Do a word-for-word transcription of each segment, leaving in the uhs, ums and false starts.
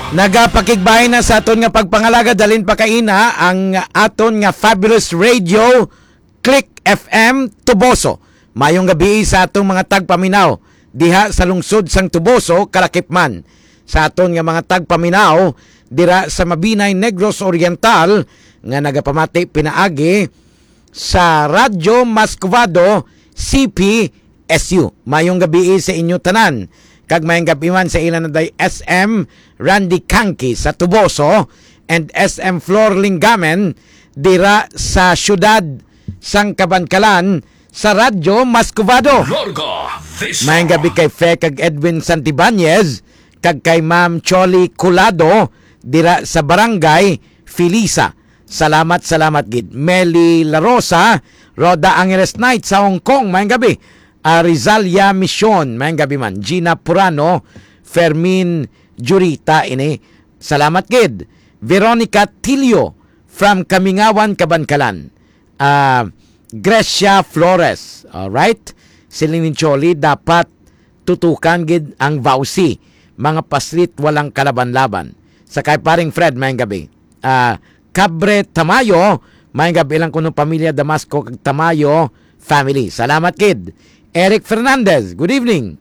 Nagapakigbahin na sa aton nga pagpangalagad, dalin pa kaina ang aton nga fabulous radio, Click F M Tuboso. Mayong gabi sa atong mga tagpaminaw diha sa lungsod sang Tuboso, kalakip man sa aton nga mga tagpaminaw dira sa Mabinay, Negros Oriental, nga nagapamati pinaagi sa Radyo Mascovado, C P S U. Mayong gabi sa inyo tanan. Kag mayong gabi man sa ila na day S M Randy Kangki sa Tuboso and S M Flor Lingamen dira sa siyudad sang Kabankalan sa Radyo Mascovado. Larga Vista. Mayong gabi kay Fe kag Edwin Santibanez kag kay Ma'am Choli Colado dira sa Barangay Felisa. Salamat, salamat gid. Meli La Rosa, Rhoda Angeles Knight sa Hong Kong, mayong gabi. Ah, Rizalia Mission, mayong gabi man. Gina Purano, Fermin Jurita ini. Salamat gid. Veronica Tilio from Kamingawan, Kabankalan. Ah, Grecia Flores, alright? Siling ni Choli, dapat tutukan gid ang vowsy. Mga paslit, walang kalaban-laban. Sa kay Paring Fred, mayong gabi. Ah, Cabre Tamayo, mayong gabi lang kuno pamilya Damasco kag Tamayo family. Salamat gid. Eric Fernandez, good evening.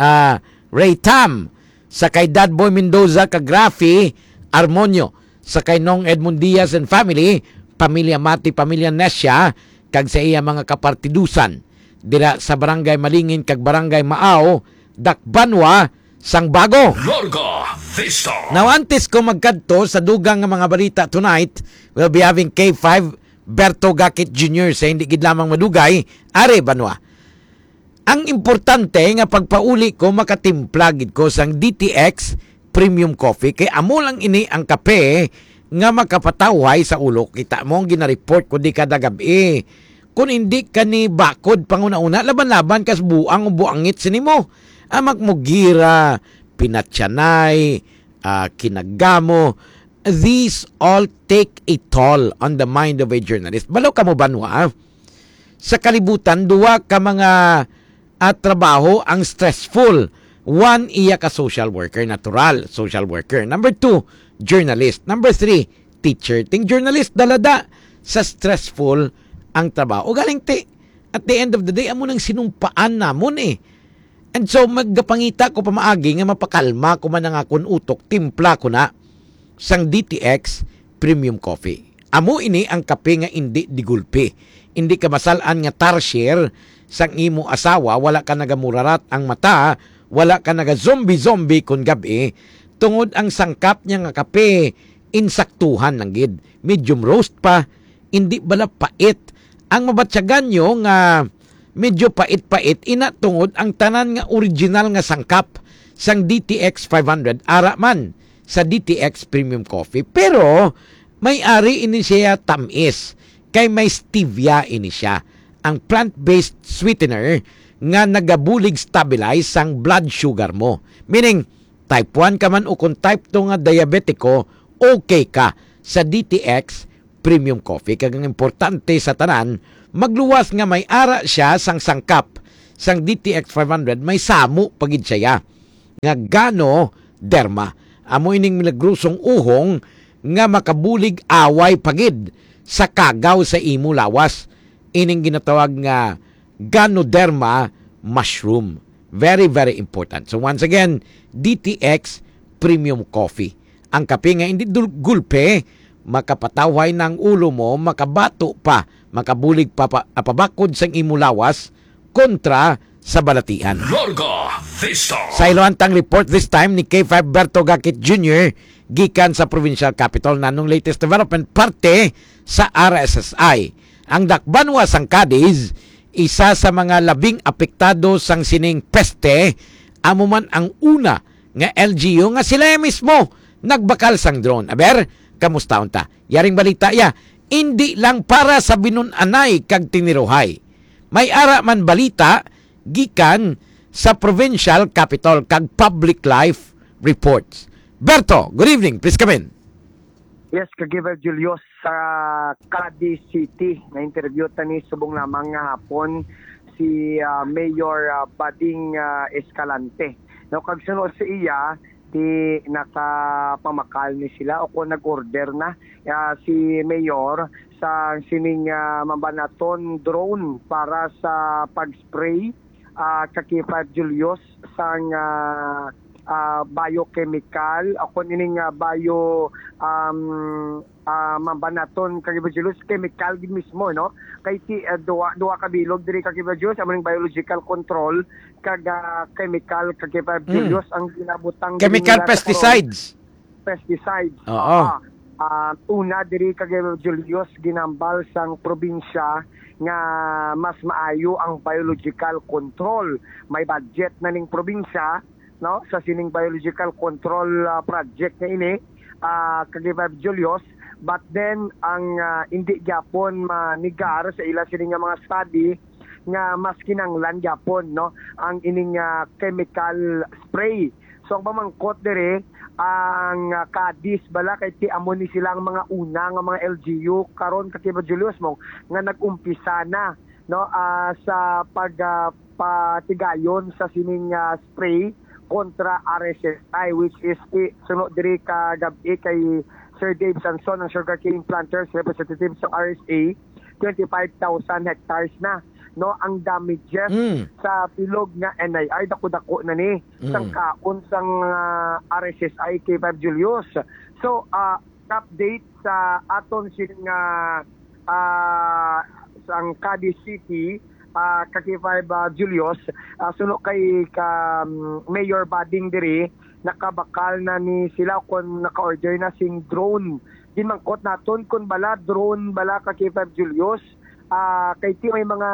Ah, Ray Tam, sa kay Dad Boy Mendoza kag Rafi Armonio, sa kay Nong Edmond Diaz and family, pamilya Mati, pamilya Nesha, kag sa iya mga kapartidusan dira sa Barangay Malingin kag Barangay Maaw, Dakbanwa, sang Bago. Larga Vista. Now, antes ko magkadto sa dugang nga mga balita tonight, we'll be having K five Berto Gakit Junior sa hindi gid lamang madugay, Are Banwa. Ang importante nga pagpauli ko, makatimpla gid ko sang D T X Premium Coffee, kay amo lang ini ang kape nga makapatawhay sa ulo. Kita mo ang ginareport ko di kada gab-i. Kung hindi ka ni bakod panguna-una, laban-laban kas buang o buangit sini mo. Amak mo gira, pinatyanay, ah, kinagamo. These all take a toll on the mind of a journalist. Balo ka mo, Banwa, ah? Sa kalibutan, duwa ka mga, ah, trabaho ang stressful. One, iya ka social worker, natural, social worker. Number two, journalist. Number three, teacher. Ting journalist, dalada sa stressful ang trabaho. O galing ti, at the end of the day, amo nang sinumpaan namon eh. And so, magapangita ko pamaagi nga mapakalma ko man ang akon utok, timpla ko na sang D T X Premium Coffee. Amo ini ang kape nga indi digulpi. Indi ka masal-an nga tarsier sang imo asawa, wala ka nagamurarat ang mata, wala ka nagazombie-zombie kon gab-i, tungod ang sangkap niya nga kape, insaktuhan lang gid. Medium roast pa, indi bala pait. Ang mabatyagan nyo nga medyo pait-pait, ina tungod ang tanan nga original nga sangkap sang D T X five hundred, ara man sa D T X Premium Coffee. Pero may ari ini siya tamis, kay may stevia ini siya, ang plant-based sweetener nga nagabulig stabilize sang blood sugar mo. Meaning, type one ka man o kung type two nga diabetiko, okay ka sa D T X Premium Coffee. Kag ang importante sa tanan, magluwas nga may ara siya sang sangkap sang D T X five hundred, may samo pa gid siya nga Ganoderma. Amo ining milagrosong uhong nga makabulig away pa gid sa kagaw sa imo lawas. Ining ginatawag nga Ganoderma mushroom. Very, very important. So once again, D T X Premium Coffee. Ang kape nga hindi dul-, gulpe, makapatawhay na ang ulo mo, makabato pa, makabulig pa, pa, pabakod sang imo lawas kontra sa balatian. Larga Vista. Sa iloantang report this time ni K five Berto Gakit Junior gikan sa provincial capital, nanong latest development parte sa R S S I. Ang dakbanwa sang Cadiz, isa sa mga labing apektado sang sining peste, amo man ang una nga L G U nga sila mismo nagbakal sang drone. Aber, kamusta unta? Yaring balita ya, indi lang para sa Binun-anay kag Tiniruhay. May ara man balita gikan sa provincial capital kag public life reports. Berto, good evening. Please come in. Yes, Ka-Giver Julius, sa Cadiz City, na-interview ta ni subong lamang nga hapon si, ah, Mayor, ah, Bading, ah, Escalante. Now, kag suno sa iya, ti nakapamakal ni sila o kung nag-order na, ah, si Mayor sa sining, ah, mambanaton drone para sa pag-spray, ah, ka K five Julius sang, ah, ah, biochemical o kung ining, ah, bio, um, ah, mambanaton ka K five Julius, chemical gid mismo, no? Kay ti, ah, duwa, duwa ka bilog diri ka K five Julius, amo ning biological control kag, ah, chemical ka K five Mm. Julius ang ginabutang diri Chemical nila sa karon. Pesticides. Pesticides. Oo. Ah, ah, una diri kay Julius, ginambal sang probinsya nga mas maayo ang biological control. May budget na ning probinsya, no, sa sining biological control, ah, project nga ini, ah, kay Julius. But then, ang, ah, hindi gyapon manigar sa ila sini nga mga study nga mas kinanglan gyapon, no, ang ining, ah, chemical spray. So, ang pamangkot diri, ang, ah, Cadiz bala, kay ti amo ni sila ang mga una nga mga L G U karon, ka K five Julius, mo nga nag-umpisa na, no, ah, sa pag, ah, patigayon sa sining, ah, spray kontra R S S I, which is ti, suno diri ka gab-i kay Sir Dave Sanson, ang sugarcane planters representative sa R S A, twenty-five thousand hectares na, no, ang damages Mm. sa bilog nga N I R, dako-dako na ni, Mm. sang kaon sang, ah, R S S I K five Julius. So, ah, update sa aton sin nga, ah, sang Cadiz City, ah, ka K five, ah, Julius, ah, suno kay ka, um, Mayor Bading diri, nakabakal na ni sila kung naka-order na sing drone. Ginmangkot naton kung bala drone bala ka K five Julius, ah, kay ti may mga,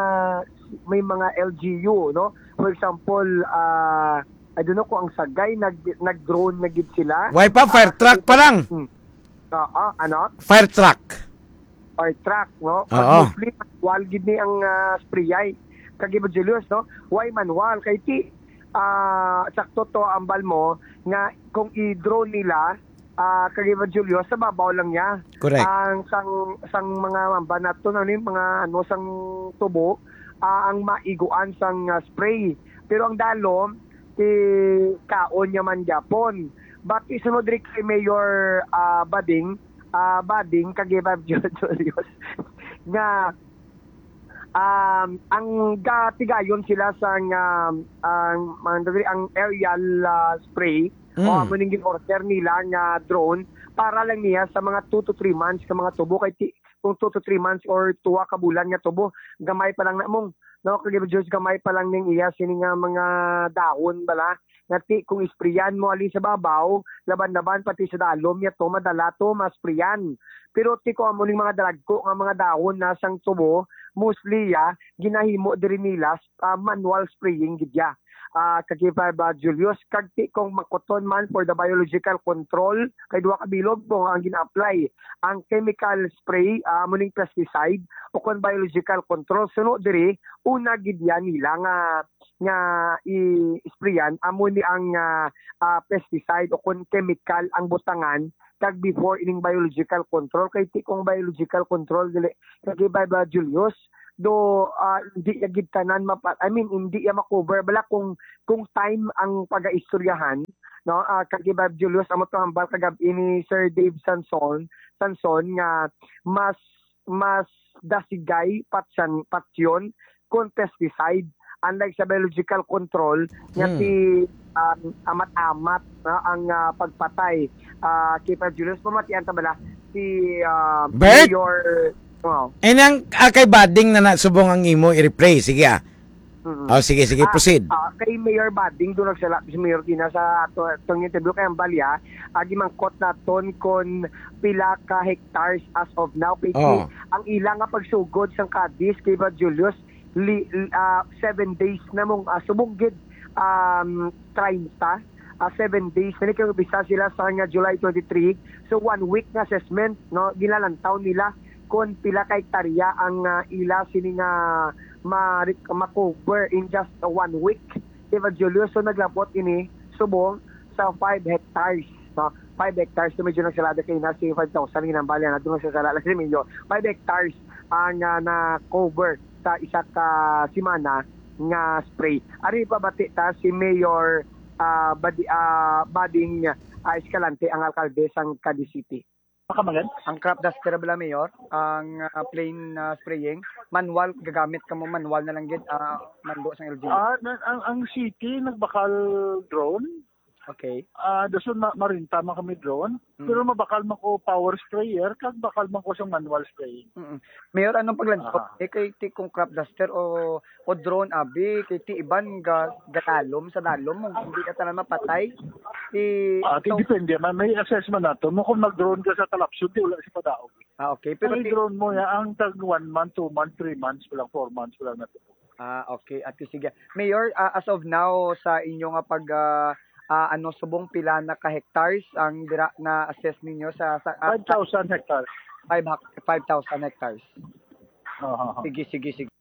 may mga L G U, no? For example, ah, I don't know kung ang Sagay nag, nag-drone na gid sila. Why pa? Fire Ah, truck pa lang. Hmm. Oo, ano? Fire truck. Fire truck, no? Pag Oo. Mostly, manual gid ni ang, ah, spray ay. Kag Julius, no? Why manual? Kay ti, ah, sakto to, ambal mo, nga kung i-drone nila, ah, kag Julius, sa babaw lang niya. Correct. Ang sang, sang mga mamba nato, ano yung mga, ano, sang tubo, ah, ang maiguan sang, ah, spray. Pero ang dalom, ti kaon niya man gyapon. But isunod rin kay Mayor, ah, Bading, ah, Bading, kag Julius, nga, um, ang gatigayon sila sa nga, ang, ang, ang aerial, ah, spray, o Mm. amo ning gin-order nila nga drone para lang niya sa mga two to three months ka mga tubo. Kay ti-, kung two to three months or tuwa ka bulan nga tubo, gamay pa lang na mong, no, kag Julius, gamay pa lang ning iya sini nga mga dahon bala. Nga ti kung isprayan mo ali sa babaw, laban-laban pati sa dalom niya to, madala to, masprayan. Pero ti ko amo ning mga dalagko nga mga dahon na sang tubo, mostly ya, ginahimo diri nila, ah, manual spraying gid ya. Ah, kag K five, ah, Julius, kag ti kung makuton man for the biological control, kay duha ka bilog mo ang gina-apply. Ang chemical spray, ah, amo ning pesticide, o kung biological control, suno diri, una gid ya nila nga, nga i-sprayan, amo ni ang, ah, ah, pesticide o kung chemical ang butangan, kag before ining biological control, kay ti kung biological control, dili, kag K five, ah, Julius, do, ah, hindi ya gid tanan mapa-, I mean, hindi ya ma-cover. Bala kung, kung time ang pagaistoryahan, no, ah, kag K five Julius, amo to hambal kagab-i ni Sir Dave Sanson, Sanson nga mas, mas dasigay patyan, patyon kon pesticide, unlike sa biological control nga Hmm. ti, um, amat-amat, no, ang, ah, pagpatay. Ah, K five Julius, pamatian ta bala si, ah, Bert? Mayor, oh. Eh, nang, ah, kay Bading na na subong ang imo i-replay. Sige, ah. Mm. Oh, sige, sige, Ah, proceed. Ah, kay Mayor Bading, doon nagsala si Mayor Dina sa ato, atong interview kay ang balya, ah, gimangkot naton kon pila ka hectares as of now. Kay Oh. ang ila nga pagsugod sang Cadiz, kay Brad Julius, li-, ah, seven days na mong, ah, subong gid, um, treinta, ah, seven days. Nani kay umpisa sila sa nga July twenty-three. So, one week nga assessment, no? Ginalantaw nila kung pila ka hektarya ang, ah, ila sini nga ma-, ma-cover in just one week. Di ba, Julio? So, naglabot ini subong sa five hectares, no? Five hectares, so medyo nagsalada kay na si five thousand, ginambali na doon, nagsasalada si Mayor. Five hectares ang, ah, na-cover sa isa ka semana nga spray. Ari pa bati ta si Mayor, ah, badi-, ah, bading, ah, Escalante ang alkalde sang Cadiz City. Makamangad? Ang crop duster bala, Mayor, ang, ah, plain, ah, spraying, manual, gagamit kamo, manual na lang gid, ah, mando sang L G U. Ah, na-, ang, ang city nagbakal drone. Okay. Ah, dason ma-, marinta man kami drone. Mm. Pero mabakal man ko power sprayer, kag bakal man ko sa manual spraying. Mm-mm. Mayor, anong paglantaw? Ah. Eh, kay ti kung crop duster o, o drone, abi, kay ti iban ga-, gatalom sa dalom, hindi ka tanan mapatay. Ti, Ah, ti so depende man. May assessment nato. Mo kung mag-drone ka sa talapsod, di wala si padaog. Ah, okay. Pero Ang ti drone mo, ya, ang tag one month, two months, three months, wala, four months, wala na to. Ah, okay. Ate, sige. Mayor, ah, as of now, sa inyo nga pag, ah, ah, ano, subong, pila na ka hectares ang dira na-assess ninyo sa, sa, ah, Five thousand hectares. Five hak-, five thousand hectares. Aha. Sige, sige, sige.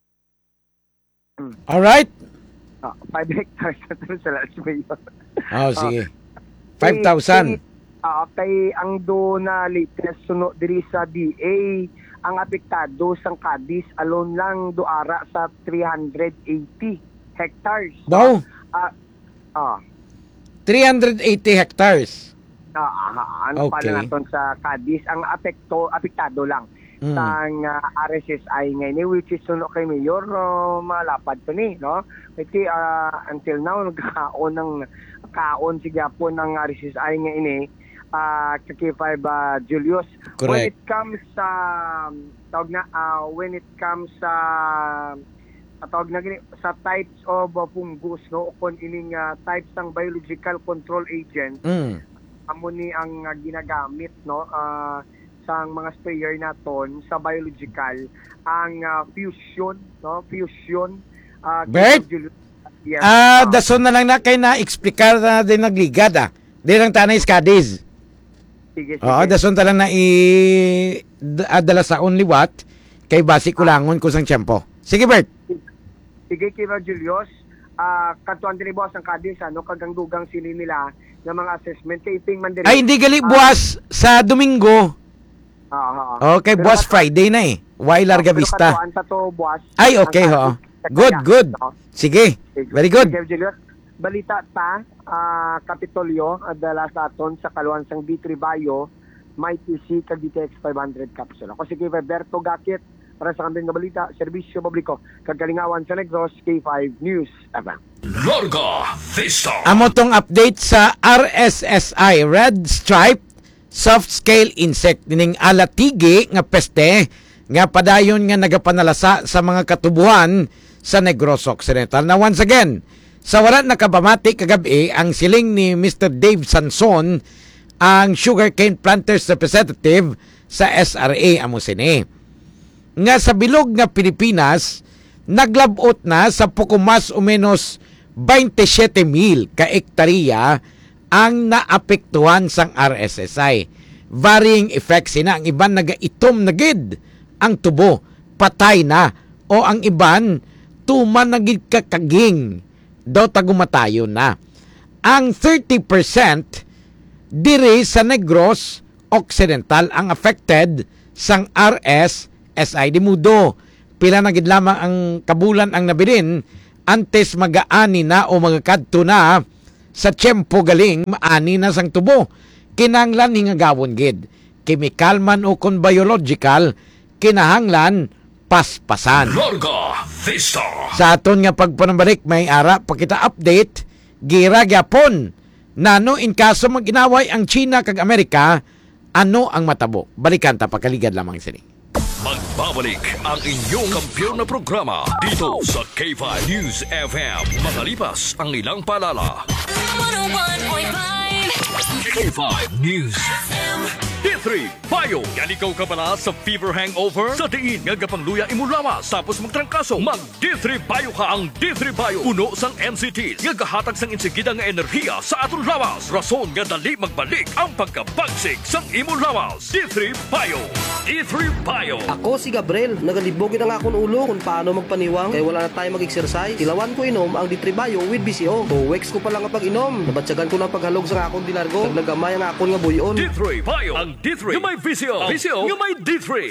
Hmm. Alright. Ah, five hectares na to sa last Mayor. Oh, Ah, sige. Kay, Five thousand. kay, ah, kay ang do na latest suno diri sa D A, ang apektado sang Cadiz alone lang do ara sa three hundred eighty hectares. Wow. Ah, ah. Three hundred eighty hectares. Ah, ah, ano pa Okay. na naton sa Cadiz, ang apekto, apektado lang Mm. sang, ah, R S S I nga ini, which is suno kay Mayor, no, malapad to ni, no? Kasi, ah, until now, nagkaon ng, kaon si gyapon ang R S S I nga ini, ah, sa K five, ah, Julius. When Correct. it comes sa, tawag na, ah, when it comes sa, ah, tawag na gini, sa types of, ah, fungus, no, o kung ining, ah, types ng biological control agent, Mm. amo ni ang, ah, ginagamit, no, ah, sang mga sprayer naton sa biological, ang, ah, fusion, no, fusion, ah, Bert? Yes, Ah, ah. dason na lang na kay na-explicar na din nagligad, ah. Di lang tanay Cadiz. Sige, Oo, sige. dason ta lang na i-, d-, ah, dala sa only what, kay basi Ah. kulangon ko sang tiyempo. Sige, Bert. Sige, Kira Julius. Ah, katuan diri buwas ang Cadiz, ano, kag ang dugang sini nila nga mga assessment kay iping man diri. Ay, hindi gali Ah. buwas sa Domingo. Oo, oo. Okay, Pero buwas katuan Friday na eh. Why Ah, Larga pero Vista? katuan ta to buwas Ay, ang okay, Cadiz, oo. Good, Cadiz, good. no? Sige, Sige. very good. Sige, Julius. Balita ta, ah, Kapitolyo, ah, dala sa aton sa kaluan sang D three Bio, may T C kag D T X five hundred capsule. Ako si K five Berto Gakit, para sa kambing nga balita, serbisyo publiko, kag kalingawan sa Negros, K five News F M. Larga Vista. Amo tong update sa R S S I, Red Stripe Soft Scale Insect, nining alatigi nga peste nga padayon nga nagapanalasa sa mga katubuhan sa Negros Occidental. Now, once again, sa wala nakapamati kagab-i, ang siling ni Mister Dave Sanson, ang sugarcane planters representative sa S R A, amo sini nga sa bilog nga Pilipinas, naglab-ot na sa poko mas o menos twenty-seven mil ka ektarya ang naapektuhan sang R S S I. Varying effects sina, ang iban nagaitom na gid ang tubo, patay na, o ang iban tuman na gid kakaging daw tagumatayon na. Ang thirty percent diri sa Negros Occidental ang affected sang R S S I. Di mudo, pila na gid lamang ang kabulan ang nabilin antes magaani na o magakadto na sa tiyempo galing maani na sang tubo. Kinahanglan hingagawon gid, chemical man o kon biological, kinahanglan paspasan. Larga Vista. Sa aton nga pagpanambalik, may ara pa kita update, gira gyapon. Nano in kaso mag-inaway ang China kag Amerika, ano ang matabo? Balikan ta pagkaligad lamang sini. Magbabalik ang inyong kampiyon na programa dito sa K five News F M. Makalipas ang ilang paalala. One oh one point five. K five News F M. D three Bio. Yan ikaw kabala sa fever hangover? Sa diin nga gapangluya imo lawas tapos magtrangkaso, mag D three Bio ka. Ang D three Bio puno sang N C Ts nga gahatag sang insigida nga enerhiya sa aton lawas, rason nga dali magbalik ang pagkabagsik sang imo lawas. D three Bio. D three Bio. Ako si Gabriel. Nagalibog gid ang akon ulo kung paano magpaniwang kay wala na tayo mag-exercise. Tilawan ko inom ang D three Bio with V C O. Two weeks ko pa lang nga pag-inom, nabatyagan ko na ang paghalog sa akon di largo. Kag nagamay ang akon nga buy-on. D three Bio. Ang D three nga may V C O. V C O nga may D three.